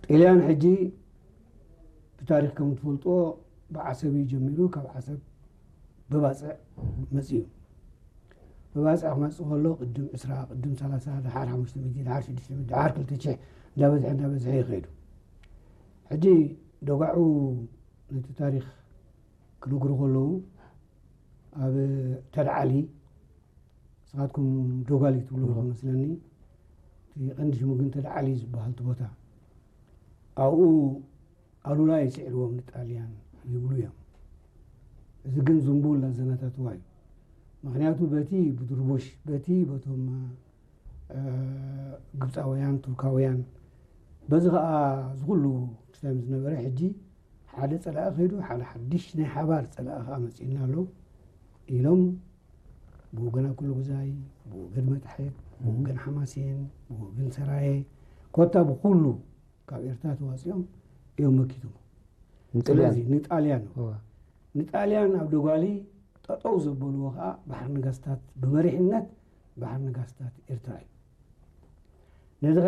ጥልያን ሕጂ ብታሪኽ ከም ትፈልጥዎ ብዓሰብ እዩ ጀሚሩ። ካብ ዓሰብ ብባፅዕ መፅኡ። ብባፅዕ ክመፅእ ከሎ ቅድም ዕስራ፣ ቅድም ሰላሳ፣ ደሓር ሓሙሽተ ሚእቲ፣ ደሓር ሽዱሽተ ሚእቲ፣ ደሓር ክልተ ሽሕ እንዳበዝሐ እንዳበዝሐ ይኸይዱ። ሕጂ ደጓዑ ነቲ ታሪኽ ክነግሩ ከለዉ ኣብ ተድዓሊ፣ ንስኻትኩም ዶጋሊ ትብሉ ከመስለኒ፣ እቲ ቀንዲ ሽሙ ግን ተድዓሊ ዝበሃል እቲ ቦታ። ኣብኡ ኣሉላ ይስዕርዎም ንጣልያን ይብሉ እዮም። እዚ ግን ዝንቡል ኣዘናታትዋ እዩ። ምክንያቱ በቲ ብድርቡሽ፣ በቲ በቶም ግብፃውያን፣ ቱርካውያን፣ በዚ ከዓ ዝኩሉ ክስታዮም ዝነበረ ሕጂ ሓደ ፀላኢ ከይዱ ሓደ ሓድሽ ናይ ሓባር ፀላኢ ከዓ መፂእና ኣሎ ኢሎም ብወገን ኣኩሉ ግዛይ፣ ብወገን መታሕት፣ ብወገን ሓማሴን፣ ብወገን ሰራየ፣ ኮታ ብኩሉ ካብ ኤርትራ ተዋፂኦም እዮም መኪቶም። ንጥልያን ስለዚ ንጣልያን እዋ። ንጣልያን ኣብ ደጓሊ ጠጠው ዘበልዎ ከዓ ባሕር ነጋስታት ብመሪሕነት ባሕር ነጋስታት ኤርትራ እዩ። ነዚ ከ